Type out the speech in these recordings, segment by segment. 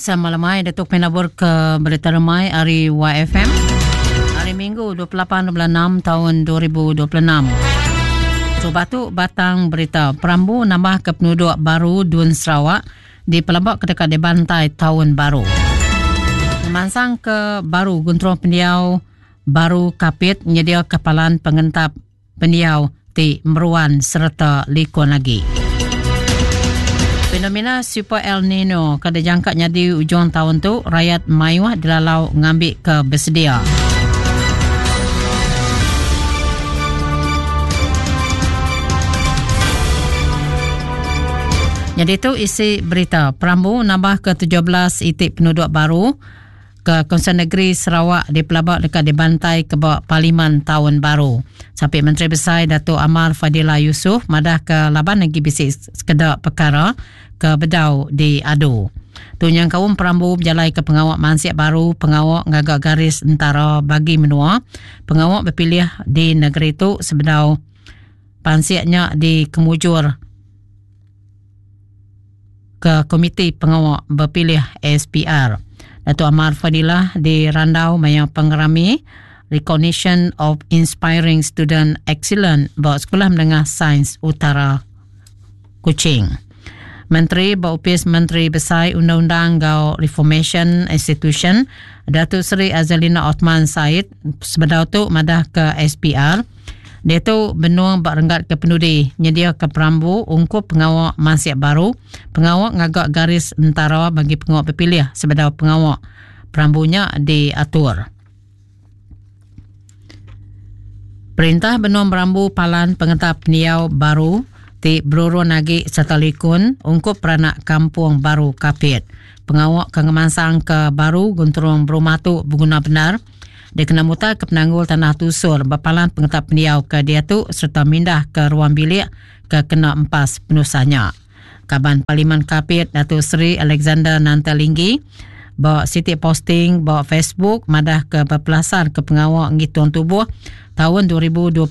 Selamat lemai Datuk Penabur ke Berita Remai ari YFM. Hari Minggu 28 bulan 6 tahun 2026. So batu batang berita perambu nambah ke penduduk baru Dun Sarawak di pelabak ke dekat di bantai tahun baru. Memansang ke baru Gunturung Pendiau Baru Kapit nyedia kapalan pengentap pendiau ti meruan sereta likun agi. Fenomena Super El Nino ke dijangka nyadi ujung taun tu, rayat mayuh dilalau ngambi ke besedia. Nyadi tu isi berita perambu nambah ke 17 iti penduduk baru ke Kaunsil Negeri Sarawak dipelaba deka dibantai ke ba Parlimen taun baru. Sapit Menteri Besai Datuk Amar Fadillah Yusof madah ke laban agi bisi sekeda pekara ke bedau diadu. Tu nyengkaum perambu bejalaika pengawa mansik baru pengawa ngaga garis entara bagi menua pengawa bepilih di negeri tu sebedau pansik nya dikemujur ke Komiti Pengawa Bepilih SPR. Datuk Amar Fadillah dirandau maya pengerami Recognition of Inspiring Student Excellence ba Sekolah Menengah Sains Utara Kuching. Menteri ba Opis Menteri Besai Undang-Undang enggau Reformation Institution Datuk Seri Azalina Othman Said sebedau tu madah ke SPR Diatu benung ba renggat ke penudi nyediaka perambu ungkup pengawa mansik baru pengawa ngaga garis entara bagi pengawa bepilih sebedau pengawa perambu nya diatur. Perintah benung merambu palan pengetap pendiau baru ti berurun agi sereta likun ungkup peranak Kampung Baru Kapit. Pengawa ke ngemansangka baru genturung berumah tu beguna bendar dikena mutarka penanggul tanah tusur ba palan pengetap pendiau ke diatu sereta mindah ke ruang bilik ke kena empas penusah nya. Kaban Parlimen Kapit Datuk Seri Alexander Nanta Linggi ba siti posting ba Facebook madahka bepelasarka pengawa ngitung tubuh taun 2025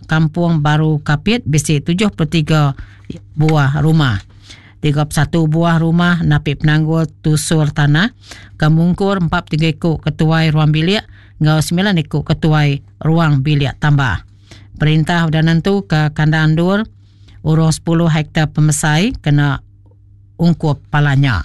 Kampung Baru Kapit bisi 73 buah rumah. 31 buah rumah napi penanggul tusur tanah ke mungkur 43 iku ketuai ruang bilik enggau 9 iku ketuai ruang bilik tambah. Perintah udah nentuka kandang endur urung 10 hektar pemesai kena ungkup palan nya.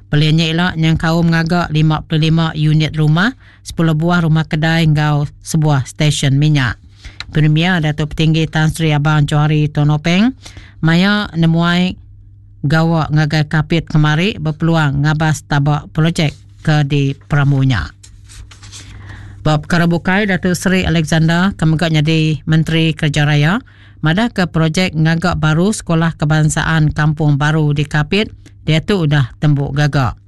Pelin nya ila nyengkaum ngaga 55 unit rumah, 10 buah rumah kedai enggau sebuah stesen minyak. Premier Datuk Petinggi Tan Sri Abang Johari Tun Openg maya nemuai gawa ngagai Kapit kemari bepeluang ngabas taba projek ke diperambu nya. Ba pekara bukai, Datuk Seri Alexander ke mega nyadi Menteri Kereja Raya madahka projek ngaga baru Sekolah Kebangsaan Kampung Baru di Kapit diatu udah tembu gaga.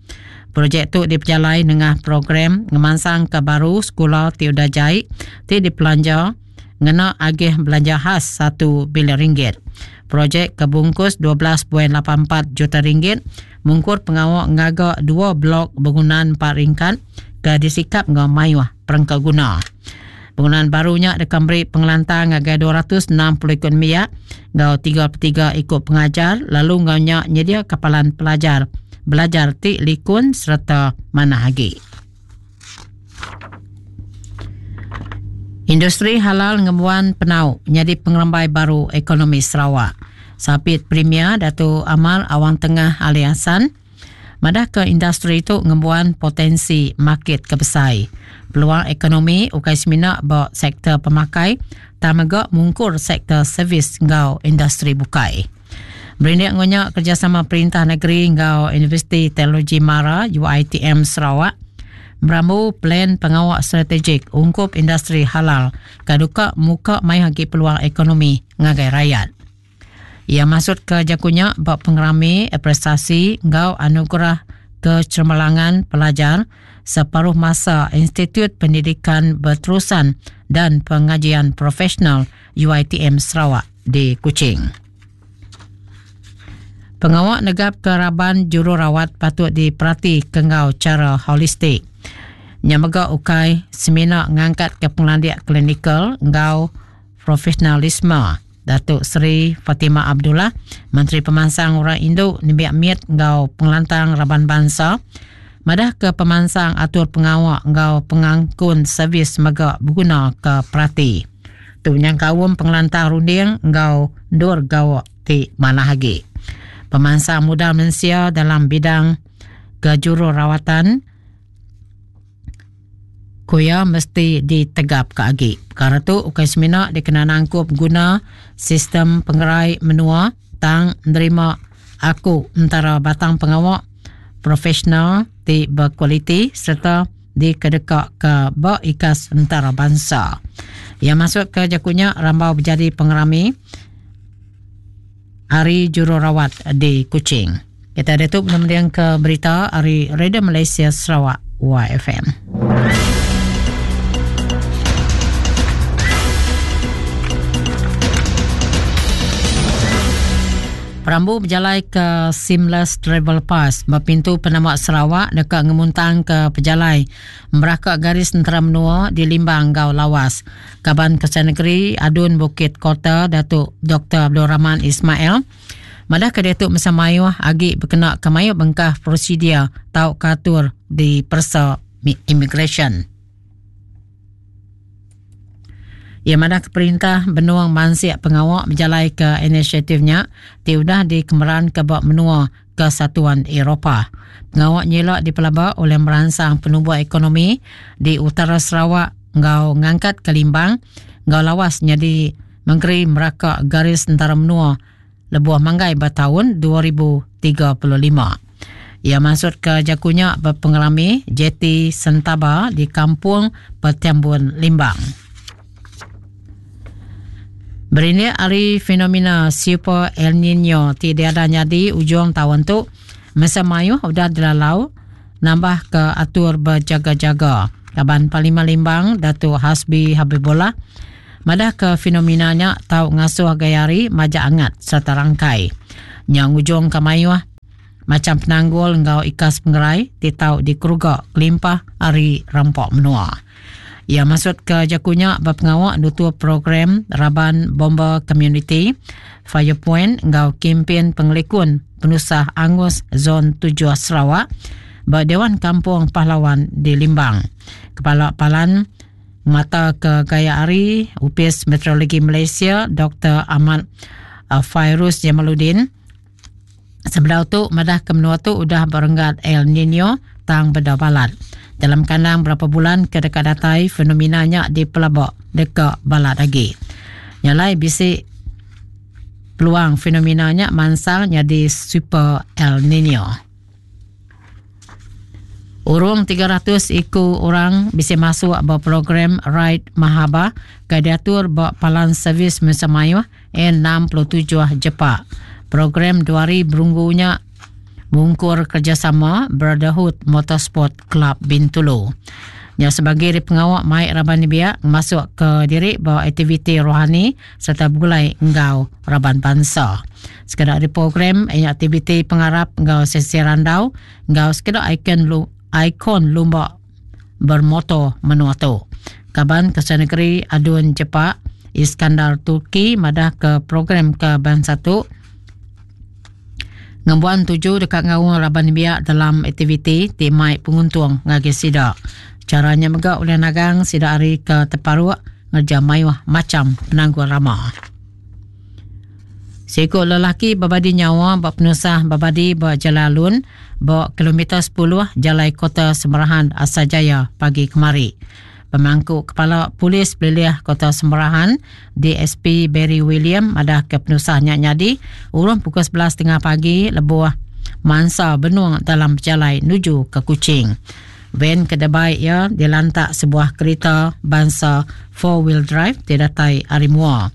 Projek tu dipejalai nengah program ngemansangka baru sekula ti udah jai ti dipelanja ngena agih belanja khas satu bilion ringgit. Projek ke bungkus 12.84 juta ringgit mungkur pengawa ngaga dua blok begunan empat ringkat ke disikap enggau mayuh perengka guna. Bangunan baru nya deka meri pengelantang ngagai 260 iku nembiak enggau 33 iku pengajar lalu enggau nya nyediaka palan pelajar belajar ti likun sereta manah agi. Industri halal ngembuan penau nyadi pengerembai baru ekonomi Sarawak. Sapit Premier Datu Amar Awang Tengah Ali Hassan madahka industri tu ngembuan potensi makit ke besai. Peluang ekonomi ukai semina ba sektor pemakai tang mega mungkur sektor servis enggau industri bukai. Berindik enggau nya, kerejasama perintah negeri enggau Universiti Teknologi Mara, UiTM Sarawak merambu plan pengawa strategik ungkup industri halal ke duka muka mayuh agi peluang ekonomi ngagai rayat. Iya masutka jaku nya ba pengerami apresiasi enggau anugerah kecemerlangan pelajar separuh masa Institut Pendidikan Berterusan dan Pengajian Profesional UiTM Sarawak di Kuching. Pengawa negapka raban jururawat patut diperati ke enggau chara holistik. Nya mega ukai semina ngangkatka pengelandik klinikal enggau profesionalisme. Datuk Seri Fatimah Abdullah, Menteri Pemansang Orang Indu, Nembiak Mit enggau Pengelantang Raban Bansa. madahka pemansang atur pengawa enggau pengangkun servis mega begunaka perati. Tu nyengkaum pengelantang runding enggau endur gawa ti manah agi. Pemansang modal mensia dalam bidang kejururawatan ku iya mesti ditegapka agi. Pekara tu ukai semina dikena nangkup guna sistem pengerai menua tang nerima aku entara batang pengawa profesional ti bekualiti sereta dikedekaka ba ikas entarabansa. Iya masutka jaku nya rambau bejadi pengerami Hari Jururawat di Kuching. Kita diatu mendingka berita ari Radio Malaysia Sarawak YFM. Perambu bejalai ke Seamless Travel Pass ba pintu penama Sarawak deka ngemuntangka pejalai meraka garis entara menua di Limbang enggau Lawas. Kaban Kesai Negeri Adun Bukit Kota Datuk Doktor Abdul Rahman Ismail madahka diatu mesa mayuh agi bekenaka mayuh bengkah prosedur tauka atur di peresa imigresen. Iya madahka perintah benung mansik pengawa bejalaika inisiatif nya ti udah dikemeranka ba menua Kesatuan Eropah. Pengawa nyila dipelaba ulih meransang penumbuh ekonomi di utara Sarawak enggau ngangkatka Limbang enggau Lawas nyadi mengeri meraka garis entara menua lebuh manggai ba taun 2035. Iya mansutka jaku nya ba pengerami Jeti Sentaba di Kampung Petiambun Limbang. Berindik ari fenomena Super El Nino ti diada nyadi ujung taun tu, mensia mayuh udah dilalau nambahka atur bejaga-jaga. Kaban Parlimen Limbang Datuk Hasbi Habibollah madahka fenomena nya tau ngasuh gaya hari majak angat sereta rangkai. Nya ngujungka mayuh macham penanggul enggau ikas pengerai ti tau dikeruga kelimpah ari rampa menua. Iya masutka jaku nya ba pengawa nutup program Raban Bomba Komuniti, Fire Point enggau Kimpin Pengelikun Penusah Angus Zon Tujuh Sarawak ba Dewan Kampung Pahlawan di Limbang. Kepala Palan Mata ke gaya hari Opis Meteorologi Malaysia Doktor Ahmad Fairuz Jamaluddin sebedau tu madah ke menua tu udah berenggat El Nino tang beda balat. Dalam kandang berapa bulan ke deka datai fenomena nya dipelaba deka balat agi. Nya alai bisi peluang fenomena nya mansang nyadi Super El Nino. Urung 300 iku orang bisi masuk ba program Ride Mahaba ke diatur ba Palan Servis Mensia Mayuh N67 Jepak. Program dua hari berunggu nya mungkur kerejasama Brotherhood Motorsport Club Bintulu. Nya sebagi ari pengawa mai raban nembiak ngemasuk ke diri ba aktiviti rohani sereta begulai enggau raban bansa. Sekeda ari program iya aktiviti pengarap enggau sesi randau enggau sekeda ikon ikon lumba bermotor menua tu. Kaban Ketua Negeri Adun Jepak Iskandar Turki madah ke program ke bansa tu ngembuan tuju deka ngaul raban nembiak dalam aktiviti ti mai penguntung ngagai sida. Chara nya mega ulih nagang sida ari ke teparuk ngereja mayuh macham penanggul rama. Siku lelaki bebadi nyawa ba penusah bebadi ba Jalai Alun ba kilometer sepuluh Jalai Kota Semerahan Asajaya pagi kemari. Pemangku Kepala Polis Pelilih Kota Semerahan DSP Barry William madahka penusah nya nyadi urung pukul 11.30 pagi lebuh mansa benung dalam pejalai nuju ke Kuching. Van ke debai iya dilantak sebuah kerita bansa four wheel drive ti datai ari mua.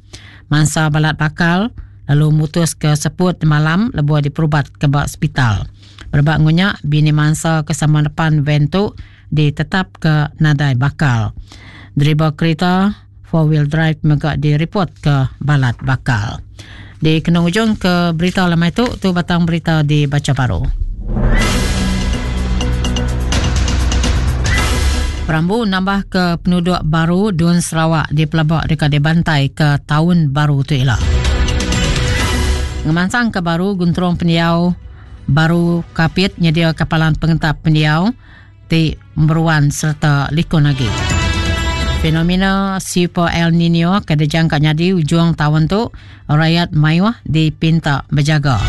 Mansa balat bakal lalu mutuska seput malam lebuh diperubat ke ba sepital. Berebak enggau nya, bini mansa ke sama nepan van tu ditetapka nadai bakal. Deriba kerita four wheel drive mega direpotka balat bakal. Di kena ujung ke berita lemai tu, tu batang berita dibacha baru. Perambu nambah ke penuduk baru Dun Sarawak dipelaba deka dibantai ke taun baru tu ila. Ngemansang ke baru Gunturung Pendiau. Baru Kapit nyediaka palan pengentap pendiau ti meruan sereta likun agi. Fenomena Super El Nino ke dijangka nyadi ujung taun tu, rayat mayuh dipinta bejaga.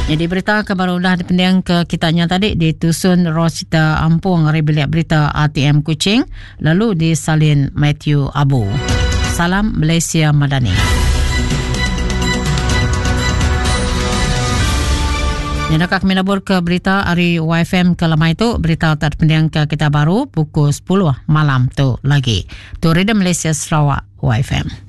Jadi berita ke baru udah dipending ke kita nya tadi ditusun Rosita Ampung ari bilik berita RTM Kuching lalu disalin Matthew Abu. Salam Malaysia Madani. Nyadaka kami nabur ke berita ari YFM ke lemai tu, berita tak dipending ke kita baru pukul 10 malam tu lagi. Tu Radio Malaysia Sarawak YFM.